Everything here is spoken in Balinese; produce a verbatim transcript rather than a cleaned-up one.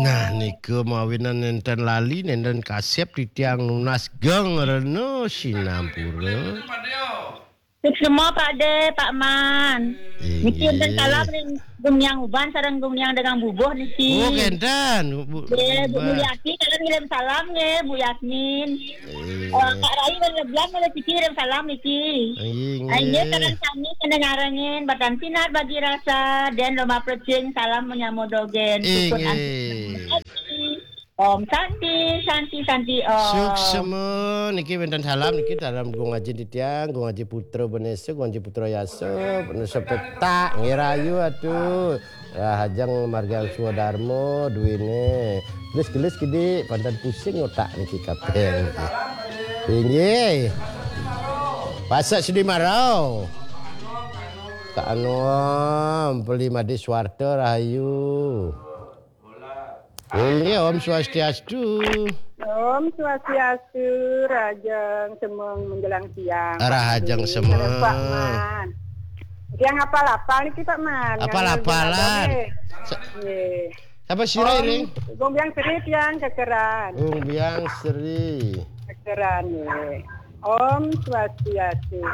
Nah, nika mawinan nenten lali, nenten kasep titiang nunas geng rena sinampura. Suksma Pak De, Pak Man. Niki enten salam ring Gumiang Uban sareng Gumiang Degang Bubuh niki. Oh, kenten. Bu, Nggih, Bu Uban. Mulyati, kalian ngirim salam nggih, Bu Yasmin. Eh. Oh, Kak Rai, Rai Lebian, Rai Cici, ngirim salam niki. Inggih. Inggih, sareng sami kena nyarengin, batan sinar bagi rasa, dan lomba plecing, salam menyamo dogen. Syukur. Inggih. Om Santi, Santi, Santi, Om. Suksma, niki wenten salam, niki dalam Gung Aji Titiang, Gung Aji Putra Benesa, Gung Aji Putra Yasa, Benesa Petak, nggih rayu atuh. Rahajeng margiang swadarma duwene. Gelis-gelis kidik, panten pusing otak niki kabeh niki. Inggih. Pasak Sudi Marau. Kak Anom, Peli Madi Swarta rahayu. Inggih, Om Swastiastu. Om Swastiastu, rahajeng semeng menjelang siang. Rahajeng semeng. Pak Man. Tiang apal-apal niki, Pak Man. Apal-apalan. Nggih. Sa-, nggih. Sapa sira, Om, Ring? Gung Biang Sri tiang kekeran. Gung Biang Sri. Kekeran, nggih. Om Swastiastu.